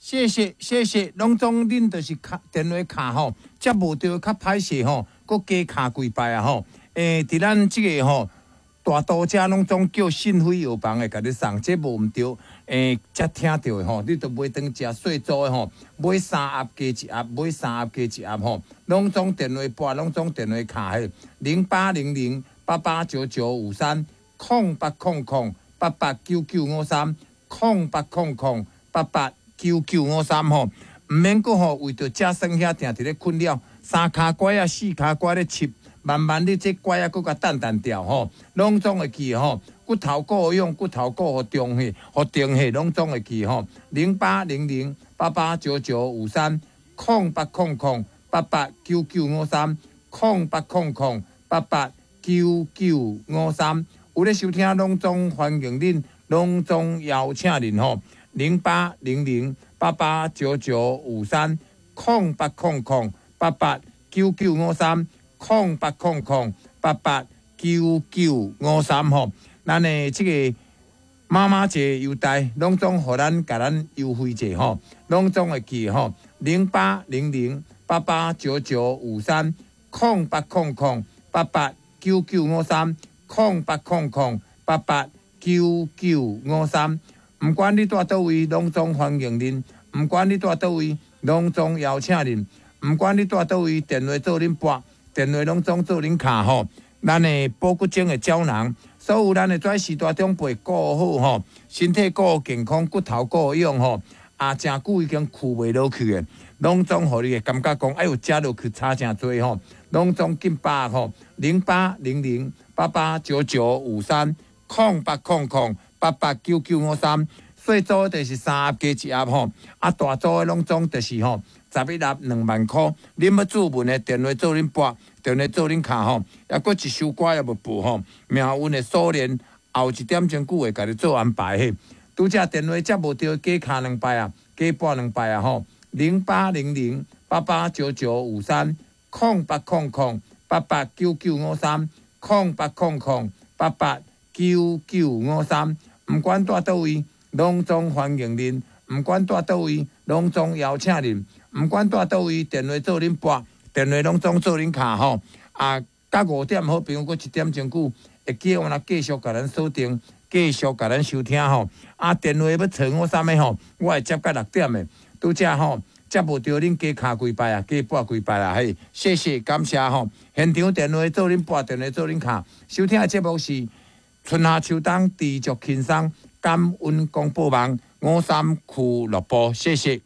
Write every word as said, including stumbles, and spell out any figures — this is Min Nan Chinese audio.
謝謝謝謝，攏總恁就是敲電話敲吼，接無著較歹勢吼，閣加敲幾擺啊吼。欸，佇咱這個吼大都遮攏總叫訊飛藥房會共你送，這無毋對。欸，才聽著的吼，你著買轉食細組的吼，買三盒加一盒，買三盒加一盒吼，攏總電話撥，攏總電話敲彼零八零零八八九九五三空八空空八八九九五三空八空空八八九九五三吼，毋免閣吼為著食耍遐定佇咧困擾，三跤拐仔四跤拐咧揤，慢慢你這拐仔閣共澹澹掉吼，攏總會記吼，骨頭顧勇，骨頭顧予中去，予定去，攏總會記吼。零八零零八八九九五三空八空空八八九九五三空八空空八八九九五三，有咧收聽，攏總歡迎恁，攏總邀請恁吼。零八零零八八九九五三空八空空八八九九五三空八空空八八九九五三吼，咱的這個媽媽節優待，攏總予咱共咱優惠者吼，攏總會記吼，零八零零八八九九五三空八空空八八九九五三空八空空八八九九五三。毋管你蹛佗位，攏總歡迎恁；毋管你蹛佗位，攏總邀請恁；毋管你蹛佗位，電話做恁撥，電話攏總做恁敲吼。咱的保骨精的膠囊，所有咱的跩序大長輩顧好吼，身體顧健康，骨頭顧勇吼。啊，誠久已經跍袂落去的，攏總予你會感覺講，哎喲，食落去差誠濟吼，攏總緊把吼，零八零零八八九九五三空八空空八八九九五三，細組就是三盒加一盒吼，啊大組的攏總就是吼十一盒兩萬箍。恁欲注文的電話做恁撥，電話做恁敲吼，抑閣一首歌也無報吼，命運的鎖鏈後一點鐘久會共你做安排嘿。拄才電話接無著，加敲兩擺啊，加撥兩擺啊吼，零八零零八八九九五三空八空空八八九九五三空八空空八八九九五三。毋管蹛佗位，攏總歡迎恁；毋管蹛佗位，攏總邀請恁；毋管蹛佗位，電話做恁撥，電話攏總做恁敲吼。啊，到五點好朋友閣一點鐘久，會記我來繼續共咱鎖定，繼續共咱收聽吼。啊，電話欲揣我啥物吼？我會接到六點的。拄才吼接無著，恁加敲幾擺啊，加撥幾擺啊，嘿，謝謝感謝吼。現場電話做恁撥，電話做恁敲。收聽的節目是春夏秋冬，知足輕鬆，感恩廣播網五三俱樂部，謝謝。